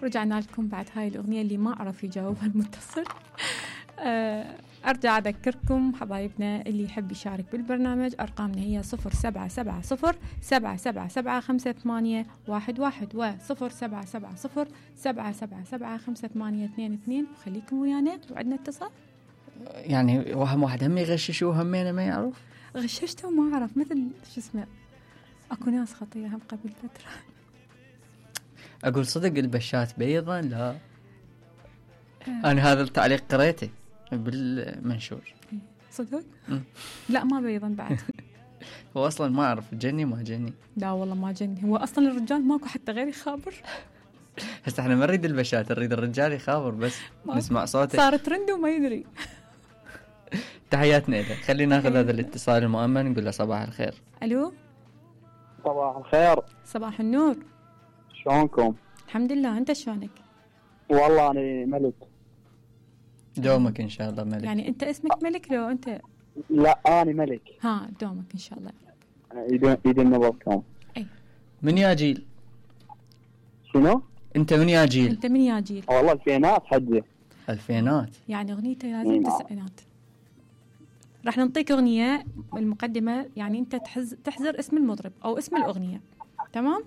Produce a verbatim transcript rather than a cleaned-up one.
رجعنا لكم بعد هاي الأغنية اللي ما عرف يجاوبها المتصل. أه أرجع أذكركم حبايبنا اللي يحب يشارك بالبرنامج، أرقامنا هي صفر سبعة سبعة صفر سبعة سبعة سبعة خمسة ثمانية واحد واحد و صفر سبعة سبعة صفر سبعة سبعة سبعة خمسة ثمانية اثنين اثنين. وخليكم ويانا وعندنا اتصال. يعني وهم واحد هم يغششوه همينه ما يعرف. غششته وما أعرف مثل شو اسمه، أكو ناس خطية هم قبل فترة. أقول صدق البشات بيضا؟ لا أه. أنا هذا التعليق قريته بالمنشور. صدق؟ لا ما بيضا بعد. هو أصلا ما أعرف جني ما جني. لا والله ما جني، هو أصلا الرجال ماكو حتى غير يخابر. هسه احنا ما نريد البشات، نريد الرجال يخابر بس نسمع صوته. صار ترند وما يدري. تحياتنا له. خلينا ناخذ هذا الاتصال المؤمن نقول له صباح الخير. ألو صباح الخير. صباح النور. شلونكم؟ الحمد لله، أنت شلونك؟ والله أنا ملك. دومك إن شاء الله ملك. يعني أنت اسمك ملك لو أنت؟ لا أنا ملك. ها دومك إن شاء الله. يدين يدين نبضكم. أي من يا جيل؟ شنو؟ أنت من يا جيل؟ أنت من يا جيل؟ والله الفينات حجي. الفينات يعني أغنيته لازم تسعينات. راح نعطيك أغنية المقدمة، يعني أنت تحز تحزر اسم المطرب أو اسم الأغنية، تمام؟